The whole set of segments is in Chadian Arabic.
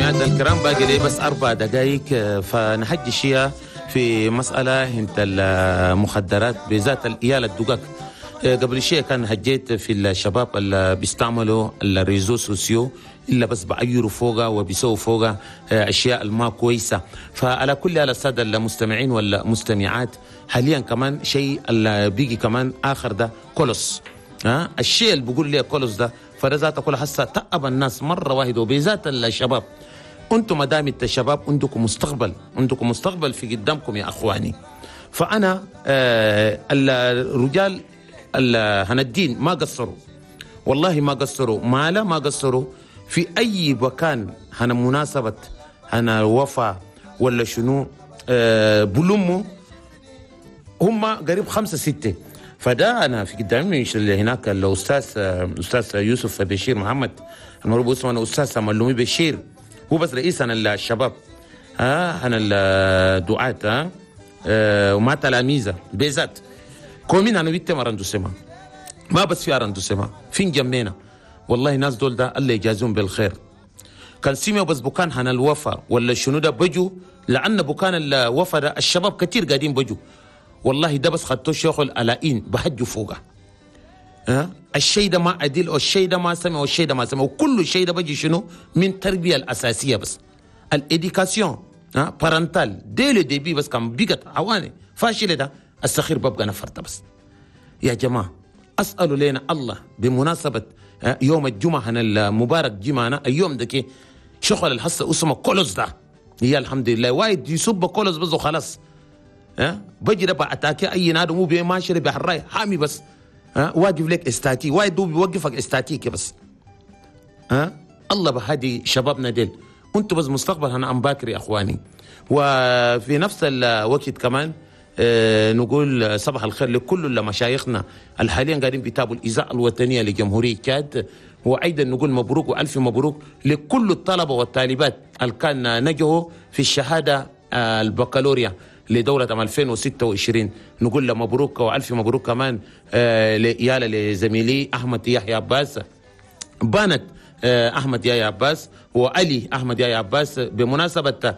والمستمعات الكرام، باقي لي بس 4 دقائق، فنحجي شيء في مسألة انت المخدرات بذات الإيالة الدقاق. قبل شيء كان هجيت في الشباب اللي بيستعملوا ال réseaux sociaux إلا بس بعيروا فوقها وبيسووا فوقها أشياء ما كويسة. فعلى كل على السادة المستمعين والمستمعات، حاليا كمان شيء اللي بيجي كمان آخر ده كولوس، الشيء اللي بيقول لي كولوس ده فده ذاته كل حسه تعب الناس مرة واحدة، وبذات الشباب. انتم ما دام الشباب عندكم مستقبل، عندكم مستقبل في قدامكم يا اخواني. فانا الرجال هندين ما قصروا، والله ما قصروا، ما لا ما قصروا في اي مكان هنا مناسبة هنا وفا ولا شنو بلموا هم قريب 5 6. فده انا في قدامي اللي هناك الاستاذ استاذ يوسف بشير محمد المعروف اسمه انا استاذ ملومي بشير، هو بس رئيس انا الشباب انا الدعاة وما تلاميذه بذات كومين انا بيت مرندوسما ما بس في ارندوسما فين جمينا والله ناس دول ده الله يجازهم بالخير. كان سيميو بس بكان هنا الوفا ولا شنو ده بجو، لان بكان الوفا ده الشباب كتير قاعدين بجو والله ده بس خدتو شيخ الألائين بحجوا فوقه. الشيء ده ما عدل او الشيء ده ما سمع والشيء ده ما سمع، وكل شيء ده بجي شنو من تربيه الاساسية بس ال éducation parentale dès le début بس كان بيقت عواني فاشلة ده السخير ببقى نفرته بس. يا جماعة اسالوا لنا الله بمناسبة يوم الجمعة المبارك جمعنا اليوم ده كي شغل الحصة اسمه كولوس ده، هي الحمد لله وايد يسب كولوس بس وخلاص. بجي ده attaquer اي نادي مو بماشي بحراي حامي بس واقف لك استاتي وايد دو بيوقفك استاتيك بس. الله بهدي شبابنا ديل، انتوا بس مستقبل انا ام باكر يا اخواني. وفي نفس الوقت كمان نقول صباح الخير لكل مشايخنا الحاليا قاعدين بيتابعوا الاذاعة الوطنية لجمهوريه تشاد، وايضا نقول مبروك والف مبروك لكل الطلبة والطالبات اللي كان نجحوا في الشهادة البكالوريا لدولة 2026. نقول له مبروك والف مبروك كمان ليالا لزميلي احمد يحيى عباس بانت احمد يحيى عباس وعلي احمد يحيى عباس بمناسبة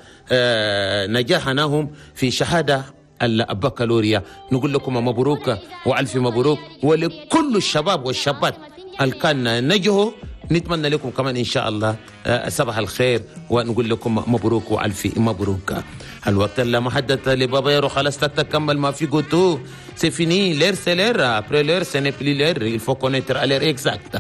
نجاحناهم في شهادة البكالوريا. نقول لكم مبروك والف مبروك، ولكل الشباب والشابات اللي كان نجحوا نتمنى لكم كمان ان شاء الله صباح الخير، ونقول لكم مبروك والف مبروك. الوقت اللي محدد لبابا يرو خلاص تكمل ما في قوتو c'est fini, l'heure c'est l'heure, après l'heure ce n'est plus l'heure, il faut connaître à l'heure exacte.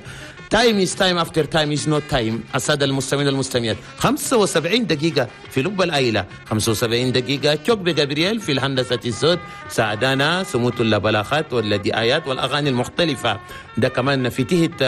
Time is time, after time is not time. السادة المستمعين والمستمعات 75 دقيقة في لب العائلة، 75 دقيقة تشوك بجابرييل في الهندسة الصوت ساعدانا سموت البلاغات والدعايات والأغاني المختلفة. ده كمان في تهت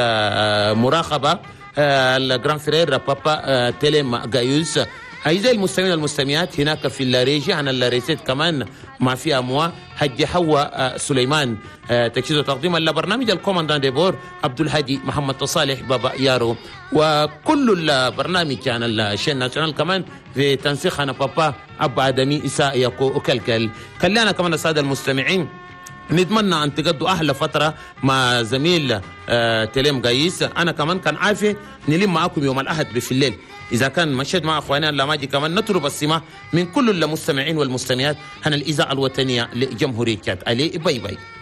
مراقبة ال grand frère بابا تيليم جايوس. أعزائي المستمعين والمستمعات هناك في ال régie عن ال recette كمان ما فيها موا حج حوا سليمان. تجهيز وتقديم البرنامج ال commandant de bord عبد الهادي محمد صالح بابا يارو، وكل البرنامج عن ال chaîne nationale كمان في تنسيق انا بابا ابا ادمي إساء يكو وكلكل. خلينا كمان السادة المستمعين نتمنى ان تقضوا احلى فترة مع زميل تليم قايس. انا كمان كان عافية نلم معاكم يوم الاحد في الليل اذا كان مشيت مع اخواننا لما كمان نطلب السماح من كل المستمعين والمستمعات هنا الاذاعة الوطنية لجمهوريه تشاد. allez bye bye.